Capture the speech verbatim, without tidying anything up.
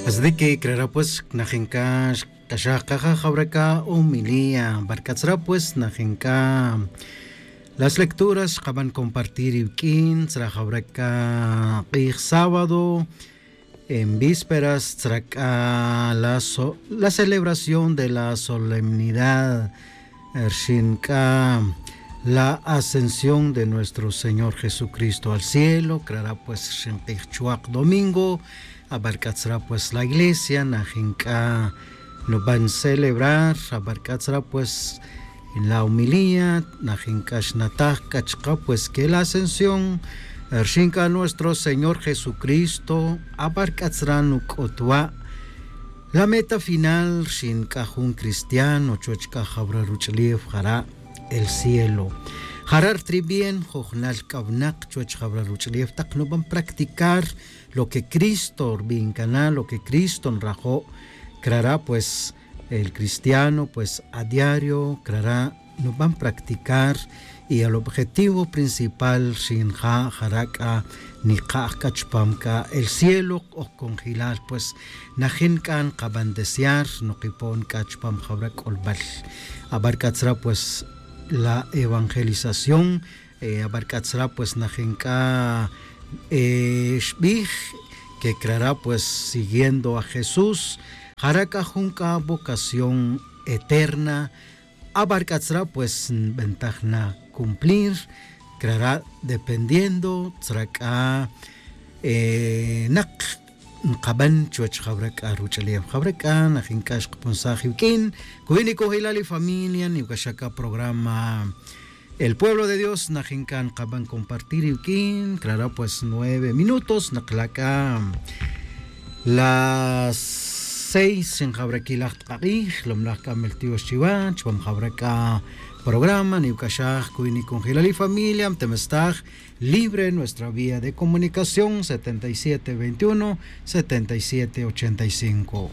Desde que crara pues najinca xk'axaj kaja jawraca homilía barc'atzra pues najinca las lecturas xkaban compartir iwq'uin tzra jawraca k'ij sábado en vísperas tzra c'a la celebración de la solemnidad rxin c'a la ascensión de nuestro señor jesucristo al cielo. Crara pues rxin k'ij chuak domingo. Abarc'atzra pues la iglesia najin c'a nuban celebrar. Abarc'atzra pues la homilía najin c'a xnataj c'a chka pues que la ascensión rxin c'a nuestro señor jesucristo. Abarc'atzra nuc'utwa' la meta final rxin c'a jun cristiano chuwech c'a jawra ruch'ulef jara' el cielo. Jara' rtribién jujnal c'a winak chuwech jawra ruch'ulef tak nuban practicar lo que cristo rbin cana lo que cristo nrajo'. Crara' pues el cristiano pues a diario crara' nuban practicar y el objetivo principal rxin ja' jara' c'a nika'j c'a chupam c'a el cielo. Oj conjilal pues najin c'a nkaban desear nukipon c'a chupam jawra c'ulbal. Abarc'atzra pues la evangelización. Abarc'atzra pues najin c'a xbij que crara' pues siguiendo a jesús jara' c'a jun c'a vocación eterna. Abarc'atzra pues nbentaj na cumplir crara' dependiendo tzra c'a nak nkaban chuwech jawra c'a ruch'ulef jawra c'a najin c'a xkpunsaj iwq'uin. Cuwi' niconjelal ifamilia niwcaxaj c'a programa el pueblo de dios najin c'a nkaban compartir iwq'uin crara' pues nueve minutos nakla' c'a las seis xin jawra quilaj tkak'ij lomlaj c'a meltiox chiwa chupam jawra c'a programa niwcaxaj cuwi' niconjelal ifamilia mtemestaj libre nuestra vía de comunicación setenta y siete veintiuno setenta y siete ochenta y cinco.